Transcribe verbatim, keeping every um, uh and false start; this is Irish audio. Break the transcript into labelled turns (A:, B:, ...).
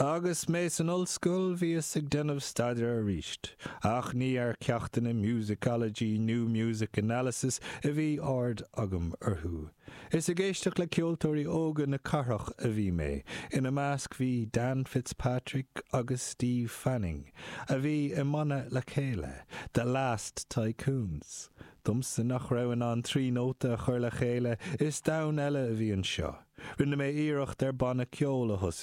A: Agus mé san ollscoil bhíos ag déanamh staidéir arís, ach ní ar ceachtanna musicology nó music analysis a bhí aird agam orthu. Is ag éisteacht le ceoltóirí óga na cathrach a bhí mé, ina measc bhí Dan Fitzpatrick agus Steve Fanning, a bhí i mbanna le chéile, The Last Tycoons. Domsa nach raibh in ann trí nóta a chur le chéile is domhan eile a bhí anseo. Rinne mé iarracht ar banna ceoil a thosú.